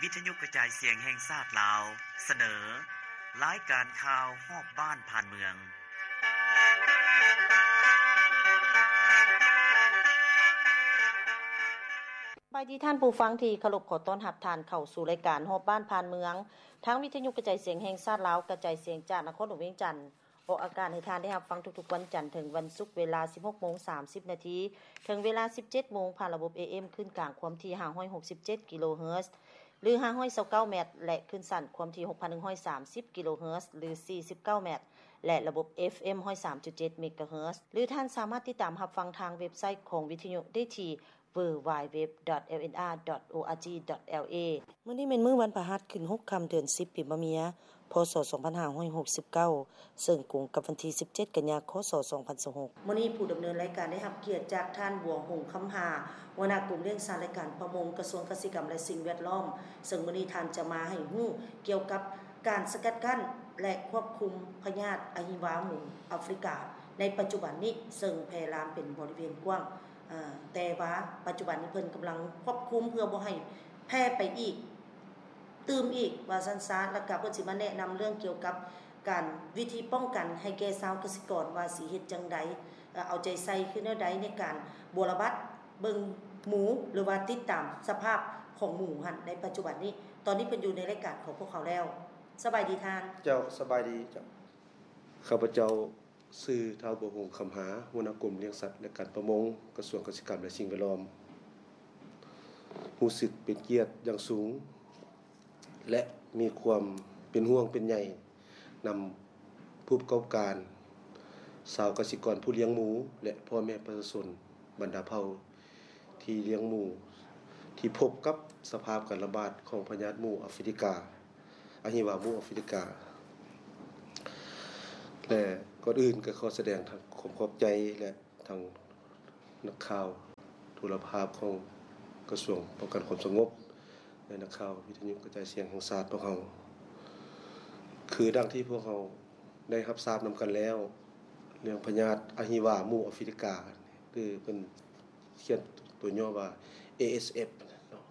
ວິທະຍຸກະຈາຍສຽງແຫ່ງຊາດລາວ ສະເໜີ ລາຍການຂ່າວຮອບບ້ານຜ່ານເມືອງ. ສະບາຍດີທ່ານຜູ້ຟັງທີ່ເຄົາລົບ, ຂໍຕ້ອນຮັບທ່ານເຂົ້າສູ່ລາຍການຮອບບ້ານຜ່ານເມືອງ ທາງວິທະຍຸກະຈາຍສຽງແຫ່ງຊາດລາວ ກະຈາຍສຽງຈາກນະຄອນຫຼວງວຽງຈັນ. ອອກອາກາດໃຫ້ທ່ານໄດ້ຮັບຟັງທຸກໆວັນຈັນເຖິງວັນສຸກ ເວລາສິບຫົກໂມງສາມສິບນາທີ ເຖິງເວລາສິບເຈັດໂມງ ຜ່ານລະບົບ ເອເອັມ ຄື້ນກາງຄວາມຖີ່ຫ້າຮ້ອຍຫົກສິບເຈັດກິໂລເຮີດ ຫຼື ຫ້າຮ້ອຍຊາວເກົ້າແມັດ ແລະ ຄື້ນສັ້ນຄວາມຖີ່ຫົກພັນໜຶ່ງຮ້ອຍສາມສິບກິໂລເຮີດ ຫຼື ສີ່ສິບເກົ້າແມັດ ແລະ ລະບົບ ເອຟເອັມ ຮ້ອຍສາມຈຸດເຈັດເມກາເຮີດ ຫຼື ທ່ານສາມາດຕິດຕາມຮັບຟັງທາງເວັບໄຊຂອງວິທະຍຸໄດ້ທີ່ ดัບເບິນຢູດັບເບິນຢູດັບເບິນຢູດັບເບິນຢູ ດອດ ແອລເອັນອາ ດອດ ໂອອາຈີ ດອດ ແອລເອ ມື້ນີ້ແມ່ນມື້ວັນພະຫັດ ຂຶ້ນຫົກຄ່ຳ ເດືອນສິບ ປີມະເມີຍ ພ.ສ. ສອງພັນຫ້າຮ້ອຍຫົກສິບເກົ້າ ເຊິ່ງກົງກັບວັນທີສິບເຈັດ ກັນຍາ ຄ.ສ. ສອງພັນຊາວຫົກ. ມື້ນີ້ຜູ້ດຳເນີນລາຍການໄດ້ຮັບກຽດຈາກທ່ານ ບົວຫົງ ຄຳຫາ ຫົວໜ້າກົມລ້ຽງສັດ ແລະ ການປະມົງ ກະຊວງກະສິກຳ ແລະ ສິ່ງແວດລ້ອມ, ເຊິ່ງມື້ນີ້ທ່ານຈະມາໃຫ້ຮູ້ກ່ຽວກັບການສະກັດກັ້ນ ແລະ ຄວບຄຸມພະຍາດອະຫິວາໝູອາຟຣິກາໃນປັດຈຸບັນນີ້ ເຊິ່ງແຜ່ລາມເປັນບໍລິເວນກວ້າງ. ເອີ ແຕ່ວ່າປັດຈຸບັນນີ້ເພິ່ນກຳລັງຄວບຄຸມເພື່ອບໍ່ໃຫ້ແຜ່ໄປອີກ ຕື່ມອີກວ່າຊັ້ນຊະ ແລ້ວກະເພິ່ນຊິມາແນະນຳເລື່ອງກ່ຽວກັບການ ວິທີປ້ອງກັນໃຫ້ແກ່ຊາວກະສິກອນວ່າຊິເຮັດຈັ່ງໃດ ເອີ ເອົາໃຈໃສ່ຄືແນວໃດໃນການບົວລະບັດເບິ່ງໝູ ຫຼືວ່າຕິດຕາມສະພາບຂອງໝູຫັ້ນໃນປັດຈຸບັນນີ້. ຕອນນີ້ເພິ່ນຢູ່ໃນລາຍການຂອງພວກເຮົາແລ້ວ. ສະບາຍດີທ່ານ. ເຈົ້າ ສະບາຍດີເຈົ້າ. ຂ້າພະເຈົ້າ ຊື່ ທ້າວ ບົວຫົງ ຄຳຫາ ຫົວໜ້າກົມລ້ຽງສັດ ແລະ ການປະມົງ ກະຊວງກະສິກຳ ແລະ ສິ່ງແວດລ້ອມ ຮູ້ສຶກເປັນກຽດຢ່າງສູງ ແລະ ມີຄວາມເປັນຫ່ວງເປັນໃຍນຳຜູ້ປະກອບການ, ຊາວກະສິກອນຜູ້ລ້ຽງໝູ ແລະ ພໍ່ແມ່ປະຊາຊົນບັນດາເຜົ່າ ທີ່ລ້ຽງໝູ ທີ່ພົບກັບສະພາບການລະບາດຂອງພະຍາດໝູອາຟຣິກາ, ອະຫິວາໝູອາຟຣິກາ ແລະ ກ່ອນອື່ນກໍຂໍສະແດງທັງຄວາມຂອບໃຈ ແລະ ທັງນັກຂ່າວໂທລະພາບຂອງກະຊວງປ້ອງກັນຄວາມສະຫງົບ ແລະ ນັກຂ່າວວິທະຍຸກະຈາຍສຽງແຫ່ງຊາດພວກເຮົາ. ຄືດັ່ງທີ່ພວກເຮົາໄດ້ຮັບຊາບນຳກັນແລ້ວ ເລື່ອງພະຍາດອະຫິວາໝູອາຟຣິກາ ຫຼື ເພິ່ນ ຂຽນຕົວຫຍໍ້ວ່າ ເອເອສເອັຟ ເນາະ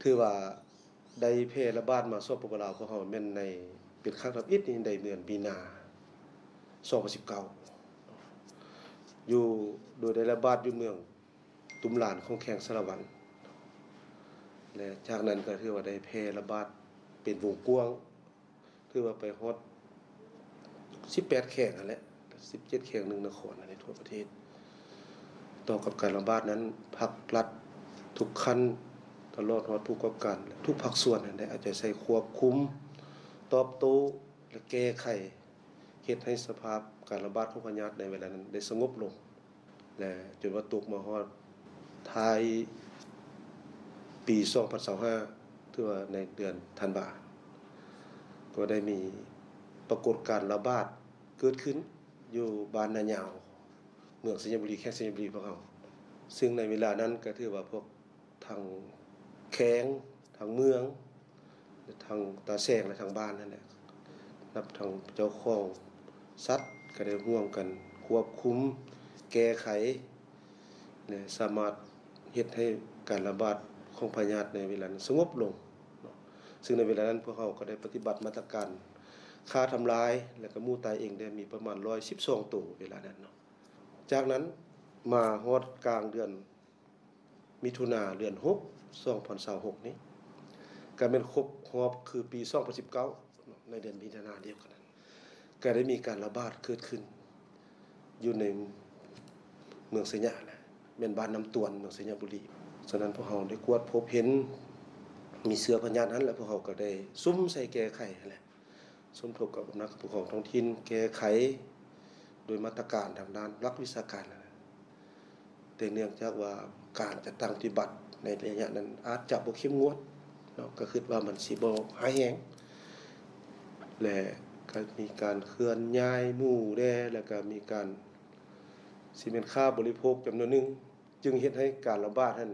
ຖືວ່າໄດ້ແຜ່ລະບາດມາ ສປປ ລາວ ຂອງເຮົາແມ່ນໃນ ເປັນຄັ້ງທຳອິດນີ້ ໃນເດືອນມີນາ ສອງພັນສິບເກົ້າ ຢູ່ ໂດຍໄດ້ລະບາດຢູ່ເມືອງຕຸມລານ ຂອງແຂວງສາລະວັນ ແລະ ຈາກນັ້ນກໍຖືວ່າໄດ້ແຜ່ລະບາດເປັນວົງກວ້າງ ຖືວ່າໄປຮອດສິບແປດແຂວງຫັ້ນແຫຼະ ສິບເຈັດແຂວງ ໜຶ່ງນະຄອນໃນທົ່ວປະເທດ. ຕໍ່ກັບການລະບາດນັ້ນ ພັກລັດທຸກຂັ້ນ ຕະຫຼອດຮອດຜູ້ປະກອບການ ແລະ ທຸກພາກສ່ວນນັ້ນໄດ້ເອົາໃຈໃສ່ຄວບຄຸມ, ຕອບໂຕ້ ແລະ ແກ້ໄຂ ເຮັດໃຫ້ສະພາບການລະບາດຂອງພະຍາດໃນເວລານັ້ນໄດ້ສະຫງົບລົງ. ແລະ ຈົນວ່າຕົກມາຮອດທ້າຍປີສອງພັນຊາວຫ້າ ຖືວ່າໃນເດືອນທັນວາ ກໍໄດ້ມີປາກົດການລະບາດເກີດຂຶ້ນຢູ່ບ້ານນາຍາວ ເມືອງໄຊຍະບູລີ ແຂວງໄຊຍະບູລີພວກເຮົາ. ຊຶ່ງໃນເວລານັ້ນກໍຖືວ່າພວກ ທັງແຂວງ ທັງເມືອງ ທັງຕາແສງ ແລະ ທັງບ້ານນັ້ນແຫຼະ ນັບທັງເຈົ້າຂອງສັດ ກໍໄດ້ຮ່ວມກັນຄວບຄຸມ ແກ້ໄຂ ແລະ ສາມາດເຮັດໃຫ້ການລະບາດຂອງພະຍາດໃນເວລານັ້ນສະຫງົບລົງເນາະ. ຊຶ່ງໃນເວລານັ້ນພວກເຮົາກໍໄດ້ປະຕິບັດມາດຕະການຂ້າທຳລາຍ ແລະ ກໍໝູຕາຍເອງໄດ້ມີປະມານຮ້ອຍສິບສອງໂຕເວລານັ້ນເນາະ. ຈາກນັ້ນມາຮອດກາງເດືອນ ມິຖຸນາ ເດືອນຫົກ ສອງພັນຊາວຫົກນີ້ ກະແມ່ນຄົບຮອບຄືປີສອງພັນສິບເກົ້າເນາະ ໃນເດືອນມິຖຸນາດຽວກັນນັ້ນ ກະໄດ້ມີການລະບາດເກີດຂຶ້ນຢູ່ໃນເມືອງໄຊຍະແຫຼະ ແມ່ນບ້ານນ້ຳຕວນ ເມືອງໄຊຍະບູລີ. ສະນັ້ນພວກເຮົາໄດ້ກວດພົບເຫັນມີເຊື້ອພະຍາດຫັ້ນ ແລະ ພວກເຮົາກໍໄດ້ສຸມໃສ່ແກ້ໄຂຫັ້ນແຫຼະ ສົມທົບກັບອຳນາດການປົກຄອງທ້ອງຖິ່ນ ແກ້ໄຂໂດຍມາດຕະການທາງດ້ານຫຼັກວິຊາການຫັ້ນແຫຼະ. ແຕ່ເນື່ອງຈາກວ່າການຈັດຕັ້ງປະຕິບັດໃນໄລຍະນັ້ນອາດຈະບໍ່ເຂັ້ມງວດເນາະ ກໍຄິດວ່າມັນຊິບໍ່ຮ້າຍແຮງ ແລະ ກໍມີການເຄື່ອນຍ້າຍໝູແດ່ ແລ້ວກໍມີການ ຊິແມ່ນຄ້າບໍລິໂພກຈຳນວນໜຶ່ງ ຈຶ່ງເຮັດໃຫ້ການລະບາດຫັ້ນ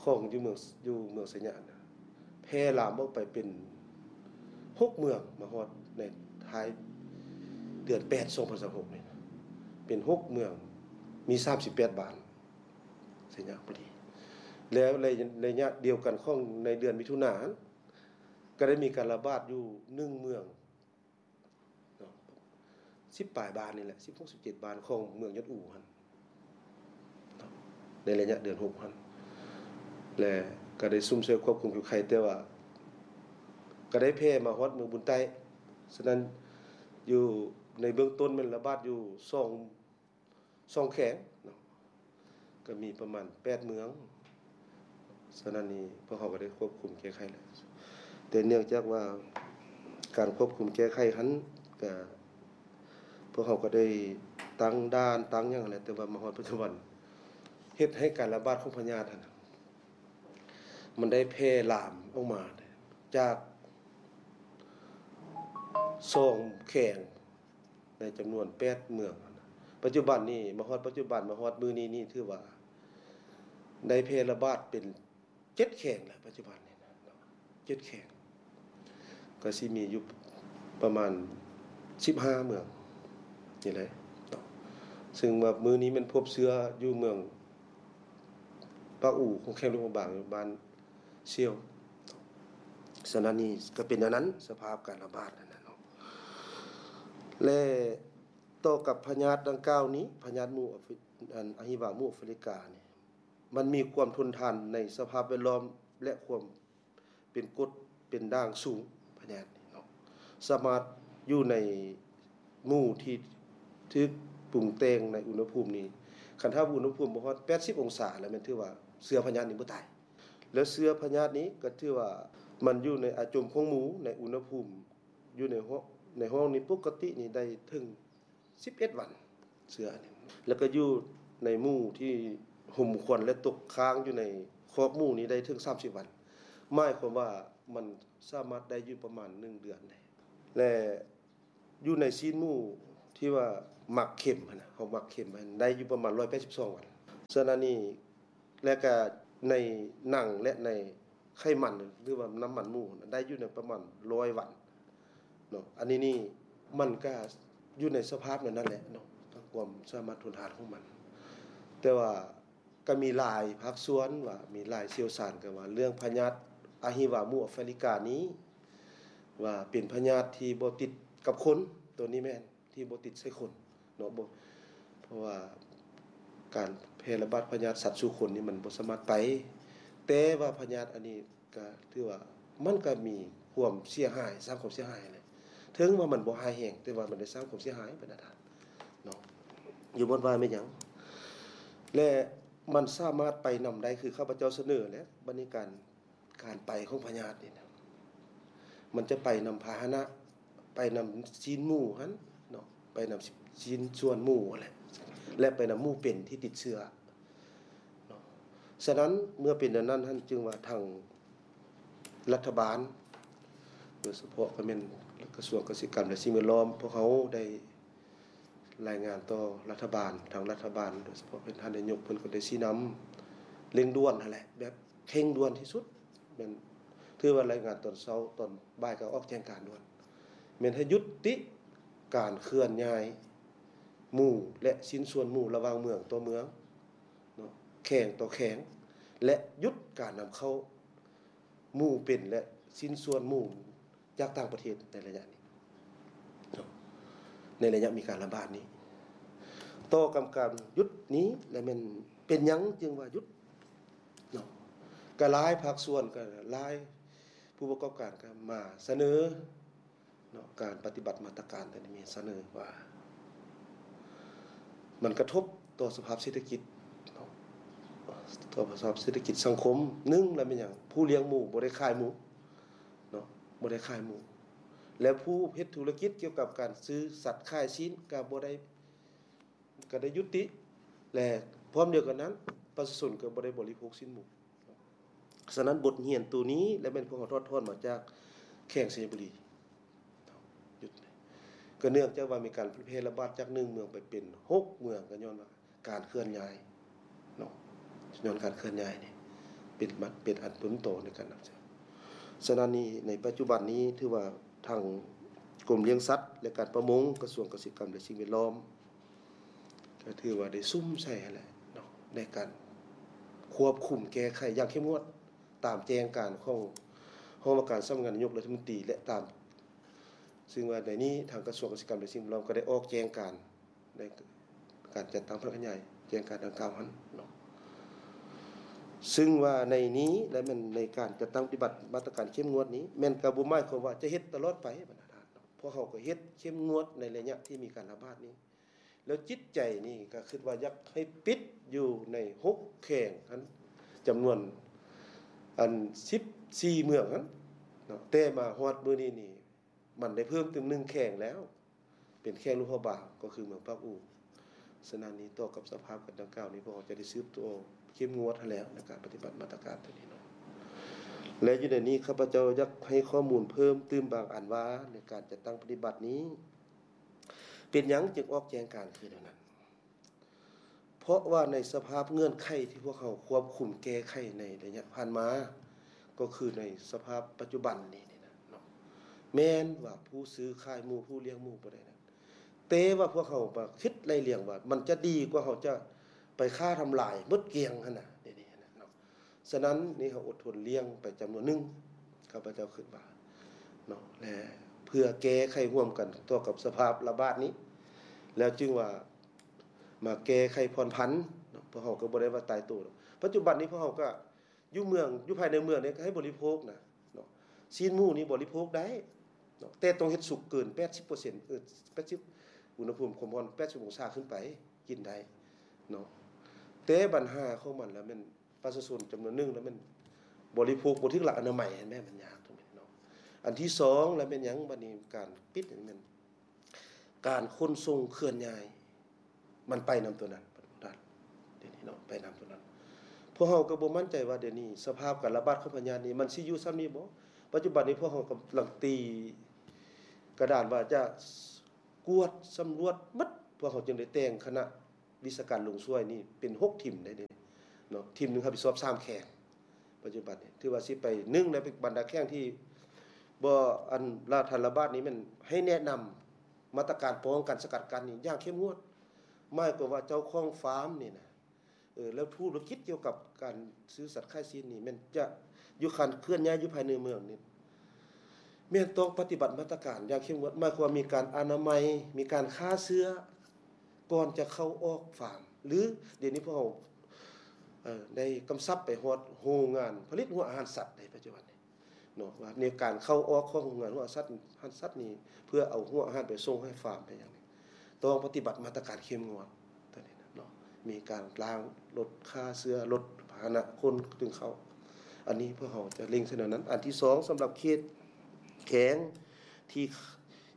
ຂອງຢູ່ເມືອງ ຢູ່ເມືອງໄຊຍະນະ ແຜ່ລາມອອກໄປເປັນຫົກເມືອງ ມາຮອດໃນທ້າຍເດືອນແປດ ສອງພັນຊາວຫົກນີ້ ເປັນຫົກເມືອງ ມີສາມສິບແປດບ້ານ ໄຊຍະບູລີ. ແລ້ວໃນໄລຍະດຽວກັນຂອງໃນເດືອນມິຖຸນາຫັ້ນ ກໍໄດ້ມີການລະບາດຢູ່ໜຶ່ງເມືອງເນາະ ສິບປາຍບ້ານນີ້ແຫຼະ ສິບຫົກ ສິບເຈັດ ບ້ານຂອງເມືອງຍອດອູຫັ້ນເນາະ ໃນໄລຍະເດືອນຫົກຫັ້ນ ແລະ ກໍໄດ້ຊຸ່ມຊ່ວຍຄວບຄຸມແກ້ໄຂ ແຕ່ວ່າກໍໄດ້ແຜ່ມາຮອດເມືອງບຸນໃຕ້. ສະນັ້ນ ຢູ່ໃນເບື້ອງຕົ້ນແມ່ນລະບາດຢູ່ສອງ ສອງແຂວງເນາະ ກໍມີປະມານແປດເມືອງ. ສະນັ້ນນີ້ ພວກເຮົາກໍໄດ້ຄວບຄຸມແກ້ໄຂແລ້ວ ແຕ່ເນື່ອງຈາກວ່າການຄວບຄຸມແກ້ໄຂຫັ້ນ ກໍ ພວກເຮົາກໍໄດ້ຕັ້ງດ່ານຕັ້ງຫຍັງແຫຼະ ແຕ່ວ່າມາຮອດປັດຈຸບັນ ເຮັດໃຫ້ການລະບາດຂອງພະຍາດຫັ້ນນະ ມັນໄດ້ແຜ່ລາມອອກມາຈາກສອງແຂວງ ໃນຈຳນວນແປດເມືອງ. ປັດຈຸບັນນີ້ ມາຮອດປັດຈຸບັນ ມາຮອດມື້ນີ້ນີ້ ຖືວ່າໄດ້ແຜ່ລະບາດເປັນເຈັດແຂວງແລ້ວ ປັດຈຸບັນນີ້ນະເນາະ ເຈັດແຂວງ ກໍຊິມີຢູ່ປະມານສິບຫ້າເມືອງນີ້ແຫຼະເນາະ ເຊິ່ງວ່າມື້ນີ້ແມ່ນພົບເຊື້ອຢູ່ເມືອງປາກອູ ແຂວງຫຼວງພະບາງ ຢູ່ບ້ານ ສ່ຽວ. ສະນັ້ນນີ້ກໍເປັນແນວນັ້ນ ສະພາບການລະບາດນັ້ນນະເນາະ ແລະ ຕໍ່ກັບພະຍາດດັ່ງກ່າວນີ້ ພະຍາດໝູ່ອາຟີ ອັນ ອະຫິວາໝູ່ອາຟຣິການີ້ ມັນມີຄວາມທົນທານໃນສະພາບແວດລ້ອມ ແລະ ຄວາມເປັນກົດເປັນດ່າງສູງ ພະຍາດນີ້ເນາະ ສາມາດຢູ່ໃນ ໝູ່ທີ່ຖືກປຸງແຕ່ງໃນອຸນຫະພູມນີ້ ຄັນຖ້າອຸນຫະພູມບໍ່ຮອດແປດສິບອົງສາແລ້ວ ແມ່ນຖືວ່າເຊື້ອພະຍາດນີ້ບໍ່ຕາຍ ແລະ ເຊື້ອພະຍາດນີ້ກໍຖືວ່າມັນຢູ່ໃນອາຈົມຂອງໝູ່ ໃນອຸນຫະພູມຢູ່ໃນຫ້ອງ ໃນຫ້ອງນີ້ປົກກະຕິນີ້ໄດ້ເຖິງສິບເອັດວັນ ເຊື້ອອັນນີ້ ແລ້ວກໍຢູ່ໃນໝູ່ທີ່ຫົ່ມຄວັນ ແລະ ຕົກຄ້າງຢູ່ໃນຄອກໝູ່ນີ້ໄດ້ເຖິງສາມສິບວັນ ໝາຍຄວາມວ່າມັນສາມາດໄດ້ຢູ່ປະມານໜຶ່ງເດືອນໄດ້ ແລະ ຢູ່ໃນຊີ້ນໝູທີ່ວ່າໝັກເຄັມຫັ້ນນະ ເຮົາໝັກເຄັມຫັ້ນ ໄດ້ຢູ່ປະມານຮ້ອຍແປດສິບສອງວັນ. ສະນັ້ນນີ້ ແລະກະໃນໜັງ ແລະ ໃນໄຂມັນ ຫຼືວ່ານ້ຳມັນໝູຫັ້ນນະ ໄດ້ຢູ່ໃນປະມານຮ້ອຍວັນເນາະ. ອັນນີ້ນີ້ ມັນກະຢູ່ໃນສະພາບແນວນັ້ນແຫຼະເນາະ ຄວາມສາມາດທົນທານຂອງມັນ. ແຕ່ວ່າ ກໍມີຫຼາຍພາກສ່ວນວ່າ ມີຫຼາຍຊ່ຽວຊານກໍວ່າ ເລື່ອງພະຍາດອະຫິວາໝູອາຟຣິການີ້ ວ່າເປັນພະຍາດທີ່ບໍ່ຕິດກັບຄົນ ໂຕນີ້ແມ່ນທີ່ບໍ່ຕິດໃສ່ຄົນເນາະ ບໍ່ ເພາະວ່າການແຜ່ລະບາດພະຍາດສັດສູ່ຄົນນີ້ ມັນບໍ່ສາມາດໄປ ແຕ່ວ່າພະຍາດອັນນີ້ ກໍຖືວ່າມັນກໍມີຄວາມເສຍຫາຍ ສ້າງຄວາມເສຍຫາຍແຫຼະ ເຖິງວ່າມັນບໍ່ຮ້າຍແຮງ ແຕ່ວ່າມັນໄດ້ສ້າງຄວາມເສຍຫາຍໄປນະທ່ານເນາະ ຢູ່ບ່ອນວ່າແມ່ນຫຍັງ ແລະ ມັນສາມາດໄປນຳໄດ້ ຄືຂ້າພະເຈົ້າສະເໜີແຫຼະ ບັດນີ້ການ ການໄປຂອງພະຍາດນີ້ນະ ມັນຈະໄປນຳພາຫະນະ ໄປນຳຊີ້ນໝູຫັ້ນເນາະ ໄປນຳຊີ້ນສ່ວນໝູຫັ້ນແຫຼະ ແລະ ໄປນຳໝູເປັນທີ່ຕິດເຊື້ອເນາະ. ສະນັ້ນ ເມື່ອເປັນແນວນັ້ນຫັ້ນ ຈຶ່ງວ່າທາງລັດຖະບານ ໂດຍສະເພາະກໍແມ່ນກະຊວງກະສິກຳ ແລະ ສິ່ງແວດລ້ອມ ພວກເຮົາໄດ້ ລາຍງານຕໍ່ລັດຖະບານ ທາງລັດຖະບານ ໂດຍສະເພາະເປັນທ່ານນາຍົກ ເພິ່ນກໍໄດ້ຊີ້ນຳເລັ່ງດ່ວນຫັ້ນແຫຼະ ແບບເຄັ່ງດ່ວນທີ່ສຸດ ແມ່ນຖືວ່າລາຍງານຕອນເຊົ້າ ຕອນບ່າຍກໍອອກແຈ້ງການດ່ວນ ແມ່ນໃຫ້ຢຸດຕິການເຄື່ອນຍ້າຍໝູ ແລະ ຊິ້ນສ່ວນໝູລະຫວ່າງເມືອງຕໍ່ເມືອງເນາະ ແຂວງຕໍ່ແຂວງ ແລະ ຢຸດການນຳເຂົ້າ ໝູເປັນ ແລະ ຊິ້ນສ່ວນໝູຈາກຕ່າງປະເທດໃນໄລຍະນີ້ເນາະ ໃນໄລຍະມີການລະບາດນີ້. ຕໍ່ກັບການຢຸດນີ້ ແລະ ແມ່ນເປັນຫຍັງຈຶ່ງວ່າຢຸດເນາະ ກະຫຼາຍພາກສ່ວນ ກະຫຼາຍຜູ້ປະກອບການກະມາສະເໜີ ເນາະ ການປະຕິບັດມາດຕະການຕົວນີ້ມີສະເໜີວ່າ ມັນກະທົບຕໍ່ສະພາບເສດຖະກິດເນາະ ຕໍ່ສະພາບເສດຖະກິດສັງຄົມ. ໜຶ່ງລະແມ່ນຫຍັງ? ຜູ້ລ້ຽງໝູບໍ່ໄດ້ຂາຍໝູເນາະ ບໍ່ໄດ້ຂາຍໝູ ແລະ ຜູ້ເຮັດທຸລະກິດກ່ຽວກັບການຊື້ສັດຂາຍຊີ້ນກະບໍ່ໄດ້ ກໍໄດ້ຍຸຕິ ແລະ ພ້ອມດຽວກັນນັ້ນ ປະຊາຊົນກໍບໍ່ໄດ້ບໍລິໂພກຊີ້ນໝູ. ສະນັ້ນ ບົດຮຽນໂຕນີ້ ແລະ ແມ່ນພວກເຮົາຖອດຖອນມາຈາກແຂວງໄຊຍະບູລີ ຢຸດເລີຍ ກໍເນື່ອງຈາກວ່າມີການແຜ່ລະບາດຈາກໜຶ່ງເມືອງໄປເປັນຫົກເມືອງ ກໍຍ້ອນວ່າການເຄື່ອນຍ້າຍເນາະ ຍ້ອນການເຄື່ອນຍ້າຍນີ້ ເປັນ ເປັນອັນຕົ້ນຕໍໃນການນຳໃຊ້. ສະນັ້ນນີ້ ໃນປັດຈຸບັນນີ້ ຖືວ່າທາງກົມລ້ຽງສັດ ແລະ ການປະມົງ ກະຊວງກະສິກຳ ແລະ ສິ່ງແວດລ້ອມ ກໍຖືວ່າໄດ້ສຸມໃສ່ຫັ້ນແຫຼະເນາະ ໃນການ ຄວບຄຸມແກ້ໄຂຢ່າງເຂັ້ມງວດ ຕາມແຈ້ງການຂອງຫ້ອງວ່າການສຳນັກງານນາຍົກລັດຖະມົນຕີ ແລະ ຕາມ ຊຶ່ງວ່າໃນນີ້ທາງກະຊວງກະສິກຳ ແລະ ສິ່ງແວດລ້ອມກໍໄດ້ອອກແຈ້ງການໃນການຈັດຕັ້ງພະນັກງານໃຫຍ່ ແຈ້ງການດັ່ງກ່າວຫັ້ນເນາະ. ຊຶ່ງວ່າໃນນີ້ ແລະ ແມ່ນໃນການຈັດຕັ້ງປະຕິບັດມາດຕະການເຂັ້ມງວດນີ້ ແມ່ນກໍບໍ່ໝາຍຄວາມວ່າຈະເຮັດຕະຫຼອດໄປ ບັນດາທ່ານເນາະ. ພວກເຮົາກໍເຮັດເຂັ້ມງວດໃນໄລຍະທີ່ມີການລະບາດນີ້ ແລ້ວຈິດໃຈນີ້ກໍຄິດວ່າຢາກໃຫ້ປິດຢູ່ໃນຫົກແຂວງຫັ້ນ ຈຳນວນອັນສິບສີ່ເມືອງຫັ້ນເນາະ. ແຕ່ມາຮອດມື້ນີ້ນີ້ ມັນໄດ້ເພີ່ມຕື່ມໜຶ່ງແຂວງແລ້ວ ເປັນແຂວງຫຼວງພະບາງ ກໍຄືເມືອງປາກອູ. ສະນັ້ນນີ້ ຕໍ່ກັບສະພາບການດັ່ງກ່າວນີ້ ພວກເຮົາຈະໄດ້ສືບຕໍ່ເຂັ້ມງວດຫັ້ນແຫຼະ ໃນການປະຕິບັດມາດຕະການຕົວນີ້ເນາະ. ແລະ ຢູ່ໃນນີ້ ຂ້າພະເຈົ້າຢາກໃຫ້ຂໍ້ມູນເພີ່ມຕື່ມບາງອັນວ່າ ໃນການຈັດຕັ້ງປະຕິບັດນີ້ ເປັນຫຍັງຈຶ່ງອອກແຈ້ງການຄືແນວນັ້ນ? ເພາະວ່າໃນສະພາບເງື່ອນໄຂທີ່ພວກເຮົາຄວບຄຸມແກ້ໄຂໃນໄລຍະຜ່ານມາ ກໍຄືໃນສະພາບປັດຈຸບັນນີ້ນີ້ນະເນາະ ແມ່ນວ່າຜູ້ຊື້ຂາຍໝູ ຜູ້ລ້ຽງໝູບໍ່ໄດ້ນັ້ນ ແຕ່ວ່າພວກເຮົາມາຄິດໄລ່ລຽງວ່າ ມັນຈະດີກວ່າເຮົາຈະໄປຂ້າທຳລາຍໝົດກ້ຽງຫັ້ນນະ ດຽວນີ້ຫັ້ນນະເນາະ. ສະນັ້ນນີ້ ເຮົາອົດທົນລ້ຽງໄປຈຳນວນໜຶ່ງ ຂ້າພະເຈົ້າຄິດວ່າເນາະ ແລະ ເພື່ອແກ້ໄຂຮ່ວມກັນຕໍ່ກັບສະພາບລະບາດນີ້ ແລ້ວຈຶ່ງວ່າມາແກ້ໄຂຜ່ອນຜັນເນາະ. ພວກເຮົາກໍບໍ່ໄດ້ວ່າຕາຍໂຕດອກ. ປັດຈຸບັນນີ້ພວກເຮົາກໍຢູ່ເມືອງ ຢູ່ພາຍໃນເມືອງນີ້ກໍໃຫ້ບໍລິໂພກນະເນາະ ຊີ້ນໝູນີ້ບໍລິໂພກໄດ້ເນາະ ແຕ່ຕ້ອງເຮັດສຸກເກີນແປດສິບເປີເຊັນ ເອີ ແປດສິບ ອຸນຫະພູມຄວາມຮ້ອນແປດສິບອົງສາຂຶ້ນໄປ ກິນໄດ້ເນາະ. ແຕ່ບັນຫາຂອງມັນລະແມ່ນ ປະຊາຊົນຈຳນວນໜຶ່ງລະແມ່ນບໍລິໂພກບໍ່ຖືກຫຼັກອະນາໄມ ແມ່ນມັນຍາກຕົງນີ້ເນາະ. ອັນທີສອງລະແມ່ນຫຍັງ? ບັດນີ້ການປິດນີ້ແມ່ນການຂົນສົ່ງເຄື່ອນຍ້າຍ ມັນໄປນຳຕົວນັ້ນ ດຽວນີ້ເນາະ ໄປນຳຕົວນັ້ນ. ພວກເຮົາກໍບໍ່ໝັ້ນໃຈວ່າດຽວນີ້ສະພາບການລະບາດຂອງພະຍາດນີ້ມັນຊິຢູ່ສ່ຳນີ້ບໍ່? ປັດຈຸບັນນີ້ພວກເຮົາກຳລັງຕີກະດານວ່າຈະກວດສຳຫຼວດໝົດ ພວກເຮົາຈຶ່ງໄດ້ແຕ່ງຄະນະ ວິຊາການລົງຊ່ວຍນີ້ເປັນຫົກທີມໄດ້ເດເນາະ ທີມໜຶ່ງຮັບຜິດຊອບສາມແຂວງ. ປັດຈຸບັນນີ້ຖືວ່າຊິໄປ ໜຶ່ງໃນບັນດາແຂວງທີ່ບໍ່ ອັນລະ ທັນລະບາດນີ້ແມ່ນໃຫ້ແນະນຳມາດຕະການປ້ອງກັນສະກັດກັ້ນນີ້ຢ່າງເຂັ້ມງວດ ໝາຍຄວາມວ່າເຈົ້າຂອງຟາມນີ້ນະ ເອີ ແລ້ວທຸລະກິດກ່ຽວກັບການຊື້ສັດຂາຍຊີ້ນນີ້ແມ່ນຈະຢູ່ຄັນເຄື່ອນຍ້າຍຢູ່ພາຍໃນເມືອງນີ້ ແມ່ນຕ້ອງປະຕິບັດມາດຕະການຢ່າງເຂັ້ມງວດ ໝາຍຄວາມວ່າມີການອະນາໄມ ມີການຂ້າເຊື້ອ ກ່ອນຈະເຂົ້າອອກຟາມ ຫຼື ດຽວນີ້ພວກເຮົາ ເອີ ໄດ້ກຳຊັບໄປຮອດໂຮງງານຜະລິດຫົວອາຫານສັດໃນປັດຈຸບັນນີ້ເນາະ ວ່າໃນການເຂົ້າອອກຂອງໂຮງງານຫົວອາຫານສັດ ອາຫານສັດນີ້ ເພື່ອເອົາຫົວອາຫານໄປສົ່ງໃຫ້ຟາມໄປຫຍັງນີ້ ຕ້ອງປະຕິບັດມາດຕະການເຂັ້ມງວດ ຕົວນີ້ນະເນາະ ມີການລ້າງລົດ ຂ້າເຊື້ອລົດ ພາຫະນະຄົນຈຶ່ງເຂົ້າ. ອັນນີ້ພວກເຮົາຈະເລັ່ງໃສ່ແນວນັ້ນ. ອັນທີສອງ ສຳລັບເຂດແຂວງທີ່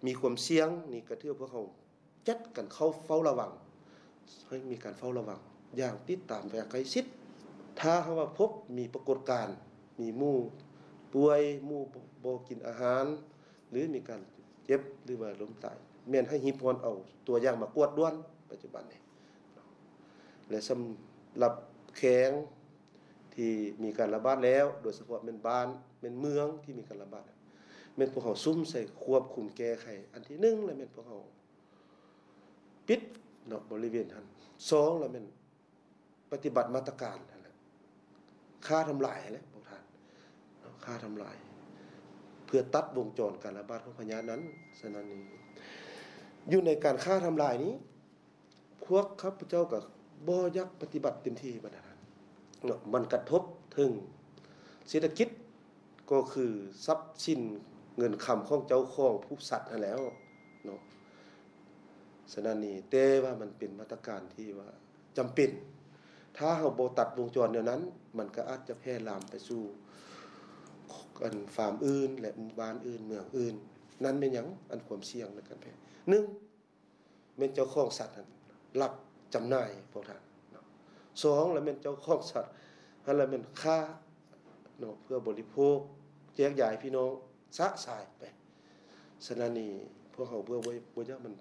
ມີຄວາມສ່ຽງນີ້ ກໍຖືວ່າພວກເຮົາຈັດການເຝົ້າ ເຝົ້າລະວັງ ໃຫ້ມີການເຝົ້າລະວັງຢ່າງຕິດຕາມຢ່າງໃກ້ຊິດ. ຖ້າຫາກວ່າພົບມີປາກົດການ ມີໝູປ່ວຍ ໝູບໍ່ ບໍ່ກິນອາຫານ ຫຼື ມີການເຈັບ ຫຼືວ່າລົ້ມຕາຍ ແມ່ນໃຫ້ຮີບຮ້ອນເອົາຕົວຢ່າງມາກວດດ່ວນ ປັດຈຸບັນນີ້. ແລະ ສຳລັບແຂວງທີ່ມີການລະບາດແລ້ວ ໂດຍສະເພາະແມ່ນບ້ານ ແມ່ນເມືອງທີ່ມີການລະບາດ ແມ່ນພວກເຮົາສຸມໃສ່ຄວບຄຸມແກ້ໄຂ. ອັນທີໜຶ່ງລະແມ່ນພວກເຮົາປິດເນາະ ບໍລິເວນຫັ້ນ. ສອງລະແມ່ນ ປະຕິບັດມາດຕະການຫັ້ນແຫຼະ ຂ້າທຳລາຍຫັ້ນແຫຼະພວກທ່ານເນາະ ຂ້າທຳລາຍ ເພື່ອຕັດວົງຈອນການລະບາດຂອງພະຍາດນັ້ນ. ສະນັ້ນນີ້ ຢູ່ໃນການຂ້າທຳລາຍນີ້ ພວກຂ້າພະເຈົ້າກໍບໍ່ຢາກປະຕິບັດເຕັມທີ່ປານໃດເນາະ ມັນກະທົບເຖິງເສດຖະກິດ ກໍຄືຊັບສິນເງິນຄຳຂອງເຈົ້າຂອງຜູ້ສັດຫັ້ນແຫຼ້ວເນາະ. ສະນັ້ນນີ້ ແຕ່ວ່າມັນເປັນມາດຕະການທີ່ວ່າຈຳເປັນ ຖ້າເຮົາບໍ່ຕັດວົງຈອນແນວນັ້ນ ມັນກໍອາດຈະແຜ່ລາມໄປສູ່ ອັນ ຟາມອື່ນ ແລະ ໝູ່ບ້ານອື່ນ ເມືອງອື່ນ. ນັ້ນແມ່ນຫຍັງ? ອັນຄວາມສ່ຽງໃນການແຜ່ ໜຶ່ງ ແມ່ນເຈົ້າຂອງສັດຫັ້ນລັກຈຳໜ່າຍພວກທ່ານເນາະ. ສອງລະແມ່ນເຈົ້າຂອງສັດຫັ້ນລະແມ່ນຂ້າເນາະ ເພື່ອບໍລິໂພກ ແຈກຢາຍພີ່ນ້ອງຊະຊາຍໄປ. ສະນັ້ນນີ້ ພວກເຮົາເພື່ອບໍ່ ບໍ່ຢາກມັນ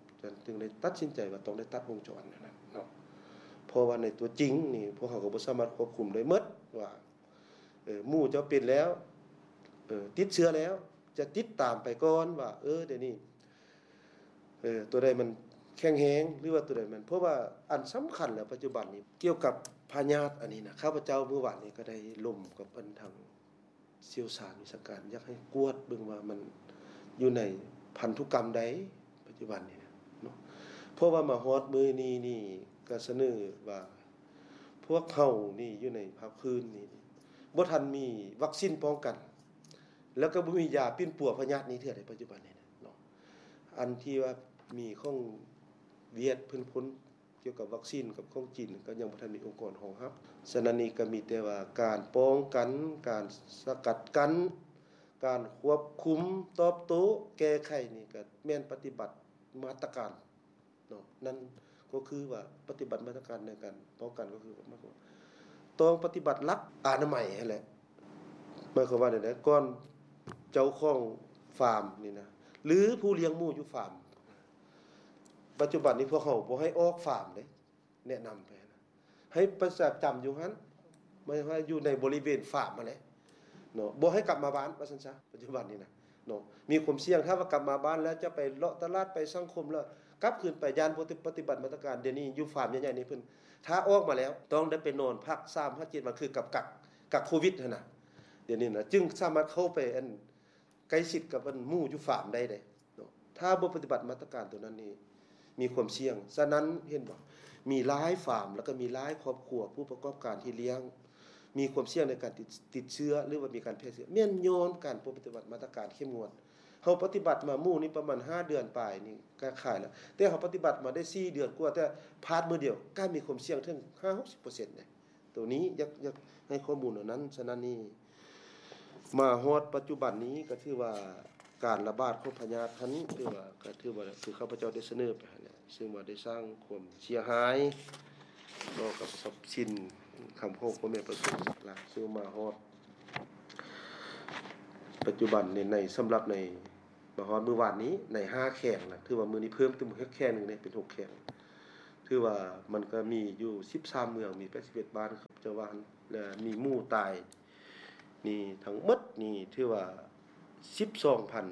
ຈຶ່ງໄດ້ຕັດສິນໃຈວ່າຕ້ອງໄດ້ຕັດວົງຈອນນັ້ນເນາະ. ເພາະວ່າໃນຕົວຈິງນີ້ ພວກເຮົາກໍບໍ່ສາມາດຄວບຄຸມໄດ້ໝົດວ່າ ເອີ ໝູ່ເຈົ້າເປັນແລ້ວ ເອີ ຕິດເຊື້ອແລ້ວ ຈະຕິດຕາມໄປກ່ອນວ່າ ເອີ ດຽວນີ້ ເອີ ຕົວໃດມັນແຂງແຮງ ຫຼືວ່າຕົວໃດມັນ ເພາະວ່າອັນສຳຄັນແລ້ວປັດຈຸບັນນີ້ ກ່ຽວກັບພ ພະຍາດອັນນີ້ນະ ຂ້າພະເຈົ້າມື້ວານນີ້ກໍໄດ້ລົມກັບອັນທາງຊ່ຽວຊານວິຊາການ ຢາກໃຫ້ກວດເບິ່ງວ່າມັນຢູ່ໃນພັນທຸກຳໃດ ປັດຈຸບັນນີ້ນະເນາະ. ເພາະວ່າມາຮອດມື້ນີ້ນີ້ ກໍສະເໜີວ່າ ພວກເຮົານີ້ຢູ່ໃນພາກພື້ນນີ້ ບໍ່ທັນມີວັກຊີນປ້ອງກັນ ແລ້ວກໍບໍ່ມີຢາປິ່ນປົວພະຍາດນີ້ເທື່ອໃດ ປັດຈຸບັນນີ້ນະເນາະ. ອັນທີ່ວ່າມີຂອງຫວຽດເພິ່ນພົ້ນ ກ່ຽວກັບວັກຊີນກັບຂອງຈີນ ກໍຍັງບໍ່ທັນມີອົງກອນຮອງຮັບ. ສະນັ້ນນີ້ກໍມີແຕ່ວ່າການປ້ອງກັນ, ການສະກັດກັ້ນ, ການຄວບຄຸມ, ຕອບໂຕ້, ແກ້ໄຂນີ້ກໍແມ່ນປະຕິບັດມາດຕະການເນາະ. ນັ້ນກໍຄືວ່າປະຕິບັດມາດຕະການໃນການປ້ອງກັນ ກໍຄືໝາຍຄວາມວ່າຕ້ອງປະຕິບັດຫຼັກອະນາໄມຫັ້ນແຫຼະ. ໝາຍຄວາມວ່າແນວໃດ? ກ່ອນເຈົ້າຂອງຟາມນີ້ນະ ຫຼື ຜູ້ລ້ຽງໝູຢູ່ຟາມ ປັດຈຸບັນນີ້ພວກເຮົາບໍ່ໃຫ້ອອກຟາມເດ້ ແນະນຳໄປນະ ໃຫ້ປະຈຳຢູ່ຫັ້ນ ໝາຍວ່າຢູ່ໃນບໍລິເວນຟາມຫັ້ນແຫຼະເນາະ ບໍ່ໃຫ້ກັບມາບ້ານວ່າຊັ້ນຊະ. ປັດຈຸບັນນີ້ນະເນາະ ມີຄວາມສ່ຽງ ຖ້າວ່າກັບມາບ້ານແລ້ວຈະໄປເລາະຕະຫຼາດ ໄປສັງຄົມ ແລ້ວກັບຄືນໄປ ຢ້ານບໍ່ປະຕິບັດມາດຕະການ. ດຽວນີ້ຢູ່ຟາມໃຫຍ່ໆນີ້ເພິ່ນ ຖ້າອອກມາແລ້ວຕ້ອງໄດ້ໄປນອນພັກສາມຫາເຈັດວັນ ຄືກັກ ກັກ ກັກໂຄວິດຫັ້ນນະ. ດຽວນີ້ນະ ຈຶ່ງສາມາດເຂົ້າໄປອັນ ໃກ້ຊິດກັບອັນໝູຢູ່ຟາມໄດ້ເດ້ເນາະ. ຖ້າບໍ່ປະຕິບັດມາດຕະການຕົວນັ້ນນີ້ ມີຄວາມສ່ຽງ. ສະນັ້ນເຫັນບໍ່? ມີຫຼາຍຟາມ ແລ້ວກໍມີຫຼາຍຄອບຄົວຜູ້ປະກອບການທີ່ລ້ຽງ ມີຄວາມສ່ຽງໃນການຕິດ ຕິດເຊື້ອ ຫຼືວ່າມີການແຜ່ເຊື້ອ ແມ່ນຍ້ອນການບໍ່ປະຕິບັດມາດຕະການເຂັ້ມງວດ. ເຮົາປະຕິບັດມາໝູນີ້ປະມານຫ້າເດືອນປາຍນີ້ກໍຂາຍແລ້ວ ແຕ່ເຮົາປະຕິບັດມາໄດ້ສີ່ເດືອນກວ່າ ແຕ່ພາດມື້ດຽວກໍມີຄວາມສ່ຽງເຖິງຫ້າຫົກສິບເປີເຊັນເດ້. ໂຕນີ້ຢາກ ຢາກໃຫ້ຂໍ້ມູນເທົ່ານັ້ນ. ສະນັ້ນນີ້ ມາຮອດປັດຈຸບັນນີ້ກໍຖືວ່າການລະບາດຂອງພະຍາດຫັ້ນ ຖືວ່າ ກໍຖືວ່າຄືຂ້າພະເຈົ້າໄດ້ສະເໜີໄປຫັ້ນແຫຼະ ຊຶ່ງວ່າໄດ້ສ້າງຄວາມເສຍຫາຍຕໍ່ກັບຊັບສິນຄຳຂອງພໍ່ແມ່ປະຊາຊົນຫຼາຍ. ຊຶ່ງມາຮອດປັດຈຸບັນນີ້ ໃນ ສຳລັບໃນ ມາຮອດມື້ວານນີ້ ໃນຫ້າແຂວງນະ ຖືວ່າມື້ນີ້ເພີ່ມຕື່ມອີກແຂວງໜຶ່ງເດ້ ເປັນຫົກແຂວງ. ຖືວ່າມັນກໍມີຢູ່ສິບສາມເມືອງ ມີແປດສິບເອັດບ້ານ ເຈົ້າວ່າຫັ້ນ ແລະ ມີໝູຕາຍນີ້ທັງໝົດນີ້ຖືວ່າສິບສອງພັນ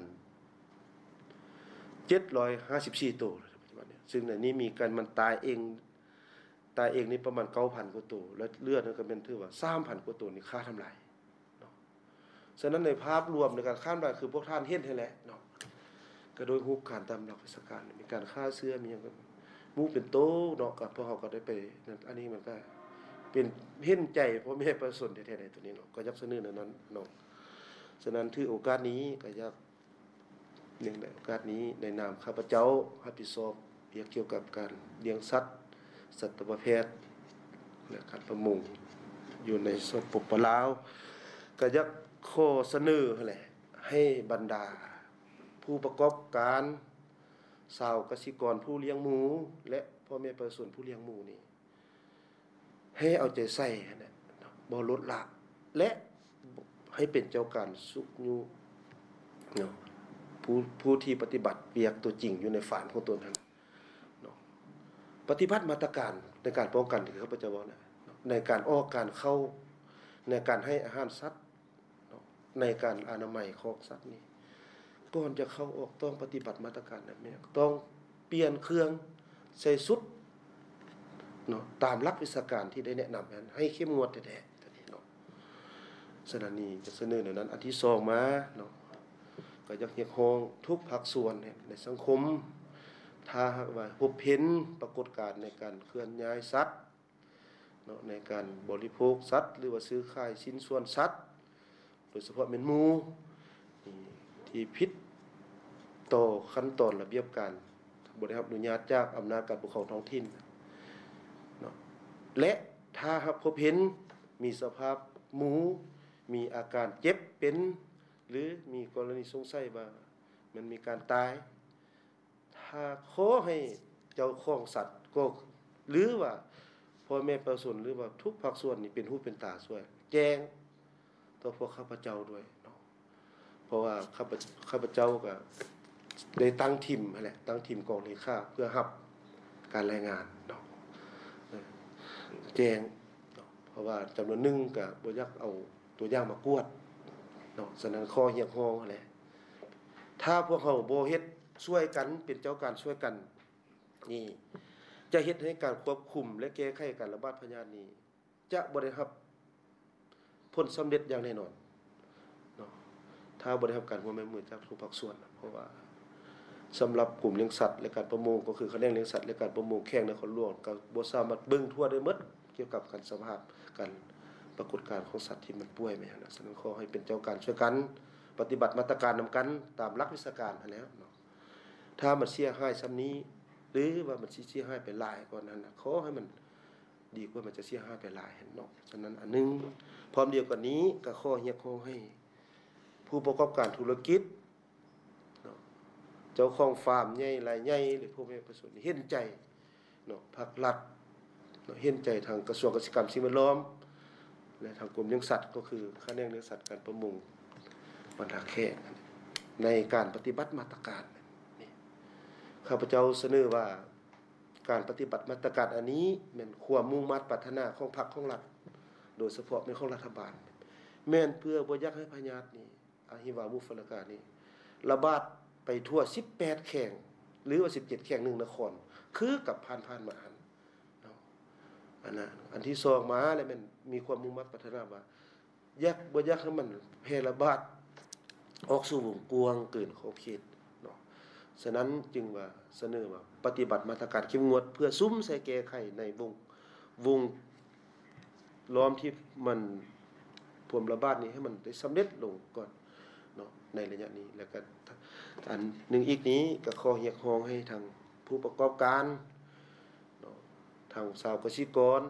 ເຈັດຮ້ອຍຫ້າສິບສີ່ໂຕ ປັດຈຸບັນນີ້. ຊຶ່ງໃນນີ້ມີການ ມັນຕາຍເອງ ຕາຍເອງນີ້ປະມານເກົ້າພັນກວ່າໂຕ ແລະ ເຫຼືອນັ້ນກໍແມ່ນຖືວ່າສາມພັນກວ່າໂຕນີ້ຂ້າທຳລາຍເນາະ. ສະນັ້ນໃນພາບລວມໃນການຂ້າທຳລາຍ ຄືພວກທ່ານເຫັນຫັ້ນແຫຼະເນາະ ກໍໂດຍຮູບການຕາມຫຼັກວິຊາການ ມີການຂ້າເຊື້ອ ມີຫຍັງ ໝູເປັນໂຕເນາະ. ກໍພວກເຮົາກໍໄດ້ໄປນັ້ນ ອັນນີ້ມັນກໍເປັນ ເຫັນໃຈພໍ່ແມ່ປະຊາຊົນແທ້ໆໃນໂຕນີ້ເນາະ ກໍຢາກສະເໜີແນວນັ້ນເນາະ. ສະນັ້ນຖືໂອກາດນີ້ກໍຢາກ ເນື່ອງໃນໂອກາດນີ້ ໃນນາມຂ້າພະເຈົ້າຮັບຜິດຊອບວຽກກ່ຽວກັບການລ້ຽງສັດ, ສັດຕະວະແພດ ແລະ ການປະມົງຢູ່ໃນ ສປປ ລາວ ກໍຢາກຂໍສະເໜີຫັ້ນແຫຼະ ໃຫ້ບັນດາຜູ້ປະກອບການ, ຊາວກະສິກອນຜູ້ລ້ຽງໝູ ແລະ ພໍ່ແມ່ປະຊາຊົນຜູ້ລ້ຽງໝູນີ້ ໃຫ້ເອົາໃຈໃສ່ຫັ້ນແຫຼະ ບໍ່ລົດລະ ແລະ ໃຫ້ເປັນເຈົ້າການຊຸກຍູ້ເນາະ ຜູ້ ຜູ້ທີ່ປະຕິບັດວຽກຕົວຈິງຢູ່ໃນຟາມຂອງຕົນຫັ້ນເນາະ. ປະຕິບັດມາດຕະການໃນການປ້ອງກັນທີ່ຂ້າພະເຈົ້າເວົ້ານະ ໃນການອອກການເຂົ້າ ໃນການໃຫ້ອາຫານສັດ ເນາະ ໃນການອະນາໄມຂອງສັດນີ້ ກ່ອນຈະເຂົ້າອອກຕ້ອງປະຕິບັດມາດຕະການແບບນີ້ ຕ້ອງປ່ຽນເຄື່ອງ ໃສ່ຊຸດເນາະ ຕາມຫຼັກວິຊາການທີ່ໄດ້ແນະນຳນັ້ນ ໃຫ້ເຂັ້ມງວດແທ້ໆ ຕົວນີ້ເນາະ. ສະນັ້ນນີ້ຈະສະເໜີແນວນັ້ນ. ອັນທີສອງມາເນາະ ກໍຢາກຮຽກຮ້ອງທຸກພາກສ່ວນໃນສັງຄົມ ຖ້າຫາກວ່າພົບເຫັນປາກົດການໃນການເຄື່ອນຍ້າຍສັດ ເນາະ ໃນການບໍລິໂພກສັດ ຫຼືວ່າຊື້ຂາຍຊິ້ນສ່ວນສັດ ໂດຍສະເພາະແມ່ນໝູທີ່ຜິດຕໍ່ຂັ້ນຕອນລະບຽບການ ບໍ່ໄດ້ຮັບອະນຸຍາດຈາກອຳນາດການປົກຄອງທ້ອງຖິ່ນເນາະ ແລະ ຖ້າຫາກພົບເຫັນມີສະພາບໝູມີອາການເຈັບເປັນ ຫຼື ມີກໍລະນີສົງໄສວ່າມັນມີການຕາຍ ຖ້າຂໍໃຫ້ເຈົ້າຂອງສັດກໍ ຫຼືວ່າພໍ່ແມ່ປະຊາຊົນ ຫຼືວ່າທຸກພາກສ່ວນນີ້ເປັນຫູເປັນຕາຊ່ວຍ ແຈ້ງຕໍ່ພວກຂ້າພະເຈົ້າດ້ວຍເນາະ ເພາະວ່າຂ້າພະ ຂ້າພະເຈົ້າກໍໄດ້ຕັ້ງທີມຫັ້ນແຫຼະ ຕັ້ງທີມກອງເລຂາເພື່ອຮັບການລາຍງານເນາະ ແຈ້ງເນາະ ເພາະວ່າຈຳນວນໜຶ່ງກໍບໍ່ຢາກເອົາຕົວຢ່າງມາກວດເນາະ. ສະນັ້ນ ຂໍຮຽກຮ້ອງຫັ້ນແຫຼະ ຖ້າພວກເຮົາບໍ່ເຮັດຊ່ວຍກັນ ເປັນເຈົ້າການຊ່ວຍກັນນີ້ ຈະເຮັດໃຫ້ການຄວບຄຸມ ແລະ ແກ້ໄຂການລະບາດພະຍາດນີ້ ຈະບໍ່ໄດ້ຮັບຜົນສຳເລັດຢ່າງແນ່ນອນເນາະ ຖ້າບໍ່ໄດ້ຮັບການຮ່ວມມືຈາກທຸກພາກສ່ວນ. ເພາະວ່າສຳລັບກົມລ້ຽງສັດ ແລະ ການປະມົງ ກໍຄືຂະແໜງລ້ຽງສັດ ແລະ ການປະມົງແຂວງນະຄອນຫຼວງ ກໍບໍ່ສາມາດເບິ່ງທົ່ວໄດ້ໝົດ ກ່ຽວກັບການສະພາບການປາກົດການຂອງສັດທີ່ມັນປ່ວຍມາຫຍັງນະ. ສະນັ້ນ ຂໍໃຫ້ເປັນເຈົ້າການຊ່ວຍກັນປະຕິບັດມາດຕະການນຳກັນຕາມຫຼັກວິຊາການຫັ້ນແຫຼ້ວເນາະ. ຖ້າມັນເສຍຫາຍສ່ຳນີ້ ຫຼືວ່າມັນຊິເສຍຫາຍໄປຫຼາຍກວ່ານັ້ນນະ ຂໍໃຫ້ມັນດີກວ່າມັນຈະເສຍຫາຍໄປຫຼາຍຫັ້ນເນາະ. ສະນັ້ນ ອັນໜຶ່ງ ພ້ອມດຽວກັນນີ້ ກໍຂໍຮຽກຮ້ອງໃຫ້ຜູ້ປະກອບການທຸລະກິດເນາະ ເຈົ້າຂອງຟາມໃຫຍ່ລາຍໃຫຍ່ ຫຼື ພໍ່ແມ່ປະຊາຊົນເຫັນໃຈເນາະ ພາກລັດເນາະ ເຫັນໃຈທາງກະຊວງກະສິກຳ ສິ່ງແວດລ້ອມ ແລະ ທາງກົມລ້ຽງສັດ ກໍຄືຂະແໜງລ້ຽງສັດ ການປະມົງ ບັນດາແຂວງ ໃນການປະຕິບັດມາດຕະການນີ້. ຂ້າພະເຈົ້າສະເໜີວ່າ ການປະຕິບັດມາດຕະການອັນນີ້ ແມ່ນຄວາມມຸ່ງມາດປາດຖະໜາຂອງພັກຂອງລັດ ໂດຍສະເພາະແມ່ນຂອງລັດຖະບານ ແມ່ນເພື່ອບໍ່ຢາກໃຫ້ພະຍາດນີ້ ອະຫິວາມຸຟະລະການີ້ ລະບາດໄປທົ່ວສິບແປດແຂວງ ຫຼືວ່າສິບເຈັດແຂວງ ໜຶ່ງນະຄອນ ຄືກັບຜ່ານໆມາຫັ້ນເນາະ. ອັນນັ້ນ ອັນທີສອງມາແລ້ວ ແມ່ນມີຄວາມມຸ່ງມາດປາດຖະໜາວ່າ ຢາກ ບໍ່ຢາກໃຫ້ມັນແຜ່ລະບາດອອກສູ່ວົງກວ້າງເກີນຂອບເຂດເນາະ. ສະນັ້ນຈຶ່ງວ່າສະເໜີວ່າປະຕິບັດມາດຕະການເຂັ້ມງວດ ເພື່ອສຸມໃສ່ແກ້ໄຂໃນວົງ ວົງລ້ອມທີ່ມັນພວມລະບາດນີ້ ໃຫ້ມັນໄດ້ສຳເລັດລົງກ່ອນເນາະ ໃນໄລຍະນີ້. ແລ້ວກໍອັນໜຶ່ງອີກນີ້ ກໍຂໍຮຽກຮ້ອງໃຫ້ທາງຜູ້ປະກອບການເນາະ ທາງຊາວກະສິກອນ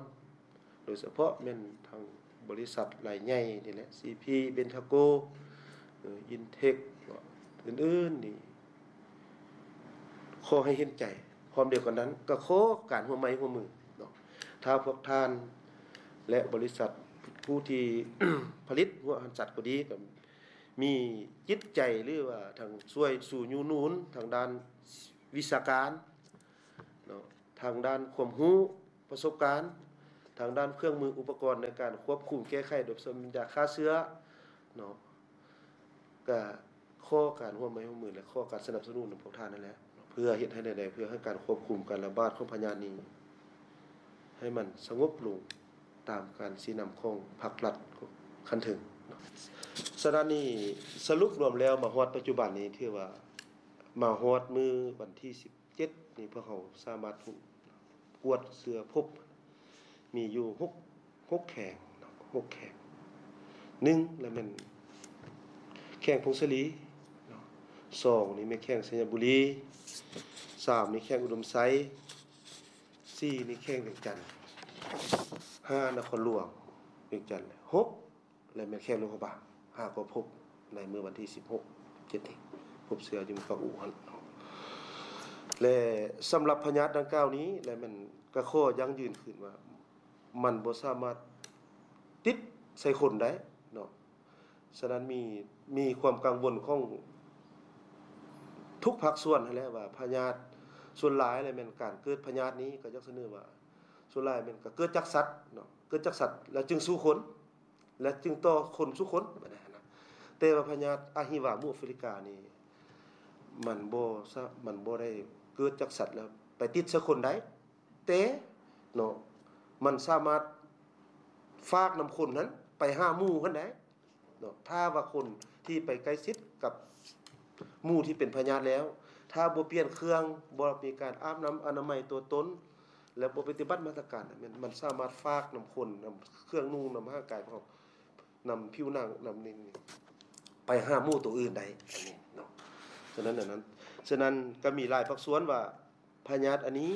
ໂດຍສະເພາະແມ່ນທາງບໍລິສັດລາຍໃຫຍ່ນີ້ແຫຼະ ຊີພີ ເບັນທາໂກ ເອີ ອິນເທັກ ອື່ນໆນີ້ ຂໍໃຫ້ເຫັນໃຈ. ພ້ອມດຽວກັນນັ້ນ ກໍຂໍການຮ່ວມໄມ້ຮ່ວມມືເນາະ ຖ້າພວກທ່ານ ແລະ ບໍລິສັດຜູ້ທີ່ຜະລິດຫົວອາຫານສັດກໍດີ ກໍມີຈິດໃຈ ຫຼືວ່າທາງຊ່ວຍຊູຍູ້ໜູນທາງດ້ານວິຊາການເນາະ ທາງດ້ານຄວາມຮູ້ ປະສົບການ ທາງດ້ານເຄື່ອງມືອຸປະກອນໃນການຄວບຄຸມແກ້ໄຂ ໂດຍສະເພາະຢາຂ້າເຊື້ອເນາະ ກະຂໍການຮ່ວມໄມ້ຮ່ວມມື ແລະ ຂໍການສະໜັບສະໜູນນຳພວກທ່ານນັ້ນແຫຼະ ເພື່ອເຮັດໃຫ້ແນວໃດ ເພື່ອໃຫ້ການຄວບຄຸມການລະບາດຂອງພະຍາດນີ້ ໃຫ້ມັນສະຫງົບລົງຕາມການຊີ້ນຳຂອງພັກລັດຂັ້ນເທິງເນາະ. ສະນັ້ນນີ້ ສະຫຼຸບລວມແລ້ວ ມາຮອດປັດຈຸບັນນີ້ ຖືວ່າມາຮອດມື້ວັນທີສິບ ເຈັດນີ້ ພວກເຮົາສາມາດກວດເຊື້ອພົບ ມີຢູ່ຫົກ ຫົກແຂວງເນາະ ຫົກແຂວງ. ໜຶ່ງ ລະແມ່ນແຂວງຜົ້ງສາລີເນາະ, ສອງ ນີ້ແມ່ນແຂວງໄຊຍະບູລີ, ສາມ ນີ້ແຂວງອຸດົມໄຊ, ສີ່ ນີ້ແຂວງວຽງຈັນ, ຫ້າ ນະຄອນຫຼວງວຽງຈັນ, ຫົກ ແລະ ແມ່ນແຂວງຫຼວງພະບາງ ຫາກໍພົບໃນມື້ວັນທີສິບຫົກ ເຈັດນີ້ ພົບເຊື້ອຢູ່ເມືອງປາກອູ່ຫັ້ນເນາະ. ແລະ ສຳລັບພະຍາດດັ່ງກ່າວນີ້ ແລະ ແມ່ນກະຂໍຢັ້ງຢືນຄືນວ່າ ມັນບໍ່ສາມາດຕິດໃສ່ຄົນໄດ້ເນາະ. ສະນັ້ນມີ ມີຄວາມກັງວົນຂອງທຸກພາກສ່ວນຫັ້ນແຫຼະວ່າ ພະຍາດສ່ວນຫຼາຍແລະ ແມ່ນການເກີດພະຍາດນີ້ ກໍຢາກສະເໜີວ່າ ສ່ວນຫຼາຍແມ່ນກໍເກີດຈາກສັດເນາະ, ເກີດຈາກສັດແລ້ວຈຶ່ງສູ່ຄົນ ແລະ ຈຶ່ງຕໍ່ຄົນສູ່ຄົນ ແບບນັ້ນນະ. ແຕ່ວ່າພະຍາດອະຫິວາມຸຟະລິການີ້ ມັນບໍ່ສະ ມັນບໍ່ໄດ້ເກີດຈາກສັດແລ້ວໄປຕິດໃສ່ຄົນໄດ້, ແຕ່ເນາະ ມັນສາມາດຝາກນຳຄົນຫັ້ນໄປຫາໝູ່ຫັ້ນໄດ້ເນາະ. ຖ້າວ່າຄົນທີ່ໄປໃກ້ຊິດກັບ ໝູ່ທີ່ເປັນພະຍາດແລ້ວ ຖ້າບໍ່ປ່ຽນເຄື່ອງ ບໍ່ມີການອາບນ້ຳອະນາໄມຕົວຕົນ ແລະ ບໍ່ປະຕິບັດມາດຕະການ ແມ່ນ ມັນສາມາດຝາກນຳຄົນ ນຳເຄື່ອງນຸ່ງ ນຳຮ່າງກາຍຂອງ ນຳຜິວໜັງ ນຳນີ້ ໄປຫາໝູ່ໂຕອື່ນໄດ້ ອັນນີ້ເນາະ. ສະນັ້ນ ອັນນັ້ນ ສະນັ້ນກໍມີຫຼາຍພາກສ່ວນວ່າ ພະຍາດອັນນີ້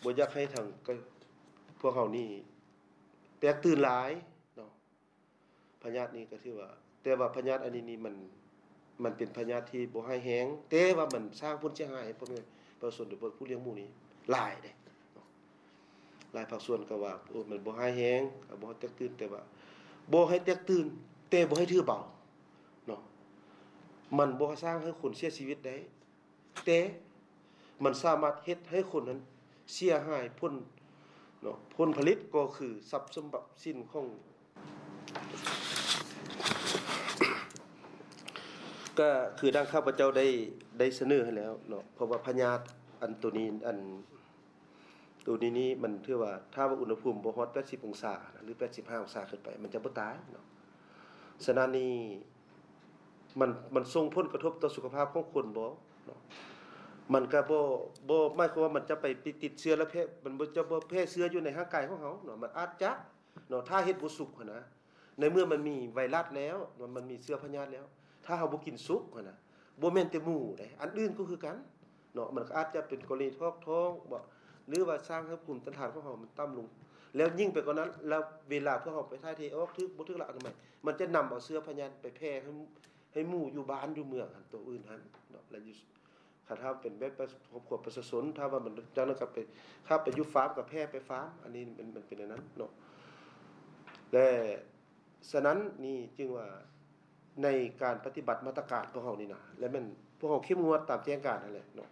ບໍ່ຢາກໃຫ້ທາງ ພວກເຮົານີ້ແຕກຕື່ນຫຼາຍເນາະ. ພະຍາດນີ້ກໍຖືວ່າ ແຕ່ວ່າພະຍາດອັນນີ້ນີ້ມັນ ມັນເປັນພະຍາດທີ່ບໍ່ຮ້າຍແຮງ, ແຕ່ວ່າມັນສ້າງຜົນເສຍຫາຍໃຫ້ພໍ່ແມ່ປະຊາຊົນ ໂດຍສະເພາະຜູ້ລ້ຽງໝູນີ້ຫຼາຍເດ້ເນາະ. ຫຼາຍພາກສ່ວນກໍວ່າ ໂອ້ ມັນບໍ່ຮ້າຍແຮງ ກໍບໍ່ໃຫ້ແຕກຕື່ນ, ແຕ່ວ່າບໍ່ໃຫ້ແຕກຕື່ນ ແຕ່ບໍ່ໃຫ້ຖືເບົາເນາະ. ມັນບໍ່ສ້າງໃຫ້ຄົນເສຍຊີວິດໄດ້ ແຕ່ມັນສາມາດເຮັດໃຫ້ຄົນນັ້ນເສຍຫາຍຜົນເນາະ, ຜົນຜະລິດກໍຄືຊັບສົມບັດສິນຂອງ ກໍຄືດັ່ງຂ້າພະເຈົ້າໄດ້ ໄດ້ສະເໜີໃຫ້ແລ້ວເນາະ, ເພາະວ່າພະຍາດອັນໂຕນີ້ ອັນ ໂຕນີ້ນີ້ມັນຖືວ່າ ຖ້າວ່າອຸນຫະພູມບໍ່ຮອດແປດສິບອົງສານະ ຫຼື ແປດສິບຫ້າອົງສາຂຶ້ນໄປ ມັນຈະບໍ່ຕາຍເນາະ. ສະນັ້ນນີ້ ມັນ ມັນສົ່ງຜົນກະທົບຕໍ່ສຸຂະພາບຂອງຄົນບໍ່ເນາະ? ມັນກະບໍ່ ບໍ່ໝາຍຄວາມວ່າມັນຈະໄປຕິດ ຕິດເຊື້ອແລ້ວແຜ່ ມັນບໍ່ ຈະບໍ່ແຜ່ເຊື້ອຢູ່ໃນຮ່າງກາຍຂອງເຮົາເນາະ. ມັນອາດຈະເນາະ ຖ້າເຮັດບໍ່ສຸກຫັ້ນນະ. ໃນເມື່ອມັນມີໄວຣັສແລ້ວ ມັນ ມັນມີເຊື້ອພະຍາດແລ້ວ ຖ້າເຮົາບໍ່ກິນສຸກຫັ້ນນະ ບໍ່ແມ່ນແຕ່ໝູເດ້ ອັນອື່ນກໍຄືກັນເນາະ. ມັນກໍອາດຈະເປັນກໍລະນີຖອກທ້ອງບໍ ຫຼືວ່າສ້າງໃຫ້ພູມຕ້ານທານຂອງເຮົາມັນຕ່ຳລົງ ແລ້ວຍິ່ງໄປກວ່ານັ້ນ ແລ້ວເວລາພວກເຮົາໄປຖ່າຍເທອອກ ຖືກບໍ່ຖືກຫຼັກອະນາໄມ ມັນຈະນຳເອົາເຊື້ອພະຍາດໄປແຜ່ໃຫ້ ໃຫ້ໝູຢູ່ບ້ານຢູ່ເມືອງຫັ້ນ ໂຕອື່ນຫັ້ນເນາະ ແລະຢູ່ ຄັນຖ້າເປັນແບບປະ ຄອບຄົວປະຊາຊົນ ຖ້າວ່າມັນຈັ່ງນັ້ນກໍໄປ ຖ້າໄປຢູ່ຟາມກໍແຜ່ໄປຟາມ ອັນນີ້ມັນ ມັນເປັນແນວນັ້ນເນາະ. ແລະ ສະນັ້ນນີ້ຈຶ່ງວ່າ ໃນການປະຕິບັດມາດຕະການພວກເຮົານີ້ນະ ແລະແມ່ນພວກເຮົາເຂັ້ມງວດຕາມແຈ້ງການຫັ້ນແຫຼະເນາະ.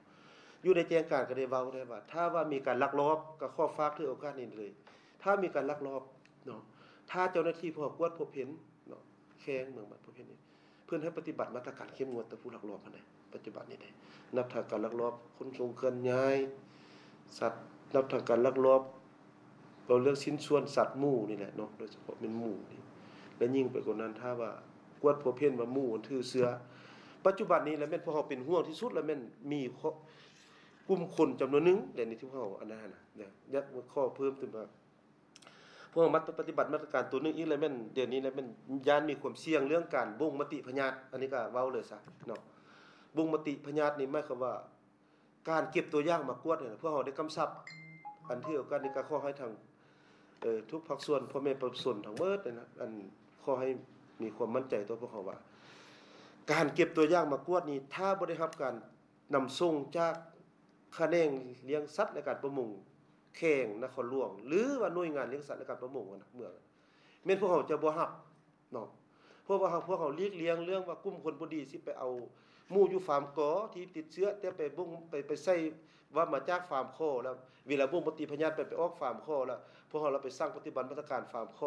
ຢູ່ໃນແຈ້ງການກໍໄດ້ເວົ້າແລ້ວວ່າ ຖ້າວ່າມີການລັກລອບ ກໍຂໍຝາກຖືໂອກາດນີ້ເລີຍ ຖ້າມີການລັກລອບເນາະ ຖ້າເຈົ້າໜ້າທີ່ພວກເຮົາກວດພົບເຫັນເນາະ ແຂວງເມືອງບາດພົບເຫັນນີ້ ເພິ່ນໃຫ້ປະຕິບັດມາດຕະການເຂັ້ມງວດຕໍ່ຜູ້ລັກລອບຫັ້ນໃດ໋ ປັດຈຸບັນນີ້ເດ້ ນັບທັງການລັກລອບຂົນສົ່ງເຄື່ອນຍ້າຍສັດ ນັບທັງການລັກລອບ ເວົ້າເລື່ອງຊິ້ນສ່ວນສັດໝູນີ້ແຫຼະເນາະ ໂດຍສະເພາະແມ່ນໝູນີ້ ແລະຍິ່ງໄປກວ່ານັ້ນ ຖ້າວ່າກວດພົບເຫັນວ່າໝູມັນຖືເຊື້ອ ປັດຈຸບັນນີ້ລະແມ່ນພວກເຮົາເປັນຫ່ວງທີ່ສຸດ ລະແມ່ນມີ ກຸ່ມຄົນຈຳນວນໜຶ່ງ ແລະນີ້ທີ່ພວກເຮົາອັນນັ້ນນະ ຢາກຂໍເພີ່ມຕື່ມວ່າ ພວກເຮົາມາປະຕິບັດມາດຕະການໂຕໜຶ່ງອີກ ລະແມ່ນດຽວນີ້ລະແມ່ນຢ້ານມີຄວາມສ່ຽງເລື່ອງການບົ່ງມະຕິພະຍາດ ອັນນີ້ກໍເວົ້າເລີຍຊະເນາະ ບົ່ງມະຕິພະຍາດນີ້ໝາຍຄວາມວ່າ ການເກັບຕົວຢ່າງມາກວດນີ້ນະ ພວກເຮົາໄດ້ກຳຊັບ ອັນຖືໂອກາດນີ້ກໍຂໍໃຫ້ທາງ ເອີ ທຸກພາກສ່ວນ ພໍ່ແມ່ປະຊາຊົນທັງໝົດນີ້ນະ ອັນ ຂໍໃຫ້ມີຄວາມໝັ້ນໃຈຕໍ່ພວກເຮົາວ່າ ການເກັບຕົວຢ່າງມາກວດນີ້ ຖ້າບໍ່ໄດ້ຮັບການນຳສົ່ງຈາກຂະແໜງລ້ຽງສັດ ແລະ ການປະມົງ ແຂວງນະຄອນຫຼວງ ຫຼືວ່າໜ່ວຍງານລ້ຽງສັດ ແລະ ການປະມົງຫັ້ນນະ ເມືອງ ແມ່ນພວກເຮົາຈະບໍ່ຮັບເນາະ ເພາະວ່າເຮົາ ພວກເຮົາຫຼີກລ່ຽງເລື່ອງວ່າກຸ່ມຄົນບໍ່ດີຊິໄປເອົາໝູຢູ່ຟາມກໍທີ່ຕິດເຊື້ອ ແຕ່ໄປບົ່ງ ໄປ ໄປໃສ່ວ່າມາຈາກຟາມຂໍ ແລ້ວເວລາບົ່ງມະຕິພະຍາດໄປ ໄປອອກຟາມຂໍ ແລ້ວພວກເຮົາລະໄປສັ່ງປະຕິບັດມາດຕະການຟາມຂໍ